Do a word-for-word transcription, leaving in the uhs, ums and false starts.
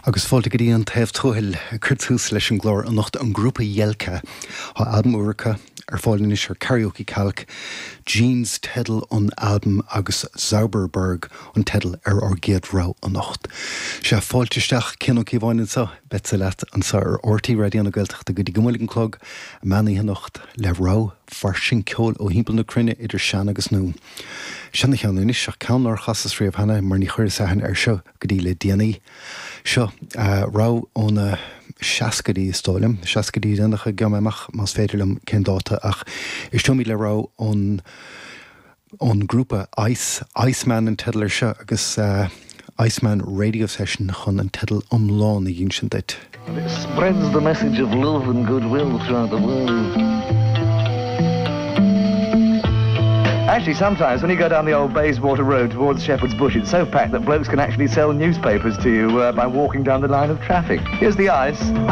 Agus fáilte go dtí an taobh tuathail cur tús leis an gclár anocht an grúpa Jelka Tá albam úr acu ar fáil anois ar Karaoke Calc, Jeans teideal an albaim agus Zauberberg an teideal ar ár gcéad rogha anocht. Sé fáilte isteach Cian Ó Cíobháin anseo beidh leat anseo ar RTÉ Raidió na Gaeltachta go dtí go muil an clog meán anocht le rogha fairsing ceoil ó thimpeall na cruinne idir sean agus nua. Seana-cheann anois ach ceann nár chasas riamh cheana mar ní chuireas aithne air seo go dtí le déanaí. Seo uh, rogha ó na seascaidí is dóigh liom, seascaidí déanacha gheobhaidh mé amach más féidir liom cén dáta ach éisteoimid le rogha ón ón grúpa Ice Iceman an teideal air seo agus uh, Iceman Radio Session chun an teideal iomlán a insint duit. It spreads the message of love and goodwill throughout the world. Actually, sometimes when you go down the old Bayswater Road towards Shepherd's Bush, it's so packed that blokes can actually sell newspapers to you uh, by walking down the line of traffic. Here's the ice.